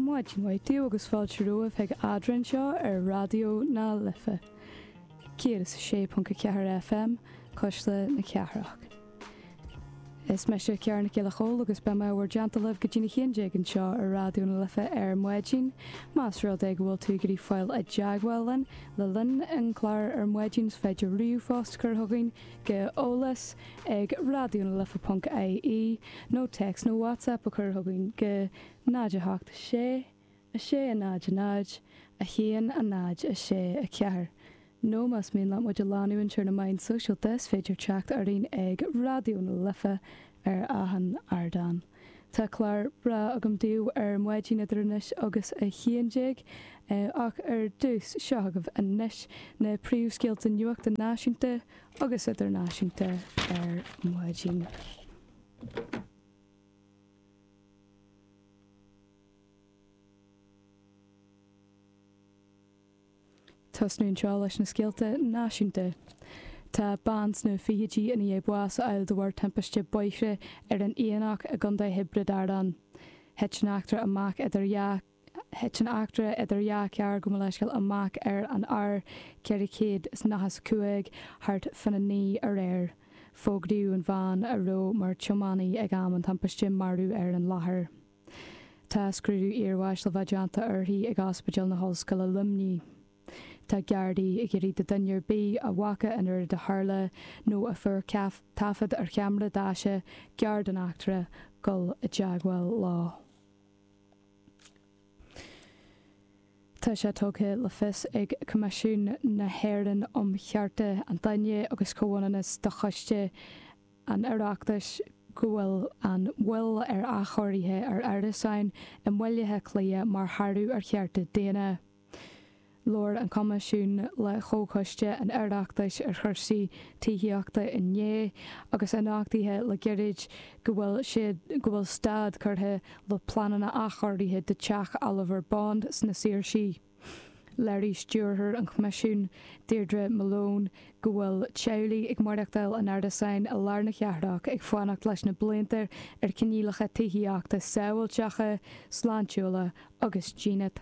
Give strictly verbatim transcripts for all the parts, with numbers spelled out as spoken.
Maidin mhaith daoibh agus fáilte romhaibh chuig Eadrainn anseo ar Raidió na Life. Céad is a sé ponc a ceathair FM, Cuisle na Cathrach. Is mise Ciara Nic Giolla Chóill agus beidh mé i bhur dteannta libh go dtí a haon déag anseo ar Raidió na Life ar maidin. Más rud é go bhfuil tú ag iarraidh fáil i dteagmháil linn le linn an chláir ar maidin is féidir ríomhphost a chur chugainn go eolas ag raidionalife ponc ie nó téacs nó WhatsApp a chur chugainn go náid a hocht sé, a sé a náid a náid, a haon a náid a sé a ceathair. Nó más mian leat muid a leanúint ar na meáin sóisialta is féidir teacht orainn ag Raidió na Life ar achan ardán. Tá clár breá agam daoibh ar maidin idir anois agus a haon déag, ach ar dtús seo agaibh anois na príomhscéalta nuachta náisiúnta agus idirnáisiúnta ar maidin. Tosnú anseo leis na scéalta náisiúnta. Tá bean sna fichidí i ndiaidh bás a fháil de bharr timpiste bóithre ar an Aonach i gContae Thiobraid Árann. Thit an eachtra amach idir dhá Thit an eachtra idir dhá charr gabh mo leithscéal amach ar an R ceithre chéad is nócha is a cúig thart fána naoi aréir. Fógraíodh an bhean a raibh mar tiománaí ag am an timpiste marbh ar an láthair. Tá scrúdú iarbháis le bheith déanta uirthi ag Ospidéal na hOllscoile Luimnigh. Tá Gardaí ag iarraidh do dhuine ar bith a bhfaca an rud a tharla nó a fuair taifead ar cheamara daise gearr den eachtra dul i dteagmháil leo. Tá sé tugtha le fios ag Coimisiún na hÉireann um Chearta an Duine agus Comhionannas do Choiste an Oireachtais go bhfuil an mhoill ar athchóirithe ar árasáin i mBaile Átha Cliath mar shárú ar chearta daonna. Labhair an Coimisiún le Comhchoiste an Oireachtais ar chúrsaí tithíochta inné agus é nochtaithe le gairid go bhfuil siad go bhfuil stad curtha le pleananna athchóirithe do Teach Oliver Bond sna Saoirsí. Léirigh Stiúrthóir an Choimisiúin, Deirdre Malone, go bhfuil teaghlaigh ag maireachtáil in árasáin i lár na cathrach ag fanacht leis na blianta ar choinníollacha tithíochta sábháilteacha, sláintiúla agus dínit.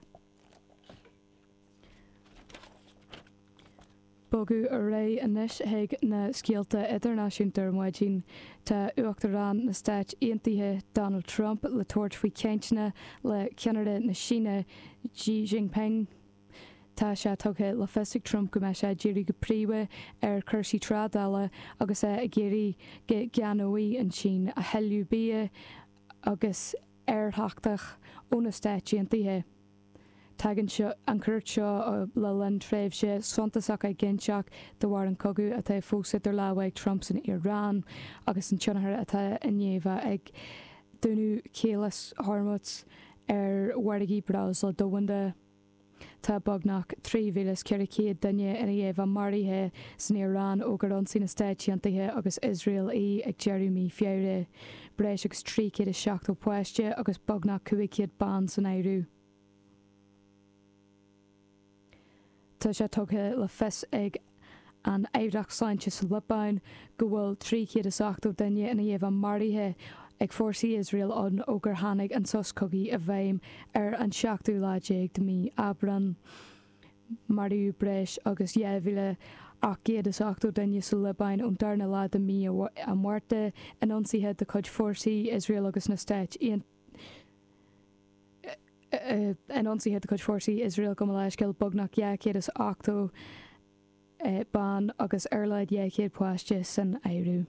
Bogadh ar aghaidh anois chuig na scéalta idirnáisiúnta ar maidin. Tá Uachtarán na Stáit Aontaithe, Donald Trump, le tabhairt faoi chainteanna le ceannaire na Síne, Xi Jinping. Tá sé tugtha le fios ag Trump go mbeidh sé ag díriú go príomha ar chúrsaí trádála agus é ag iarraidh go gceannóidh an tSín a thuilleadh bia agus aerárthach ó na Stáit Aontaithe. Tagann an chuairt seo le linn tréimhse suntasach éiginnteach de bharr an cogadh atá fós idir lámha ag Trump san Iaráin agus an tionchar atá i ndiaidh bheith ag dúnadh Chaolas Hormuz ar mhargaí breosla domhanda. Tá beagnach trí mhíle is ceithre chéad duine i ndiaidh bheith maraithe san Iaráin ó gur ionsaigh na Stáit Aontaithe agus Iosrael í ag deireadh mí Feabhra, breis agus trí chéad is seachtó páiste agus beagnach cúig chéad bean san áireamh. Tá sé tugtha le fios ag an Aireacht Sláinte sa Liobáin go bhfuil trí chéad is ochtó duine i ndiaidh bheith maraithe ag fórsaí Iosrael ann ó gur tháinig an sos cogaidh i bhfeidhm ar an seachtú lá déag de mhí Aibreán. Maraíodh breis agus dhá mhíle ocht gcéad is ochtó duine sa Liobáin ón darna lá de mhí an Mhárta in ionsaithe de chuid fórsaí Iosrael agus na Stáit In ionsaithe de chuid fórsaí Iosrael gabh mo leithscéal, beagnach dhá chéad is ochtó bean agus ar a laghad dhá chéad páiste san áireamh.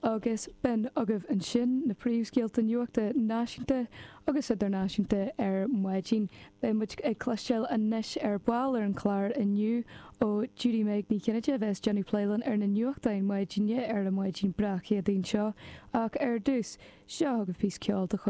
Agus b'in agaibh ansin na príomhscéalta nuachta náisiúnta agus idirnáisiúnta ar maidin. Beidh muid ag cloisteáil anois ar ball ar an chlár inniu ó Judy Meg Ní Chinnéide a bheas ag déanamh plé linn ar na nuachtáin maidine ar an maidin breá Chéadaoin seo. Ach ar dtús, seo agaibh píosa ceoil de chuid.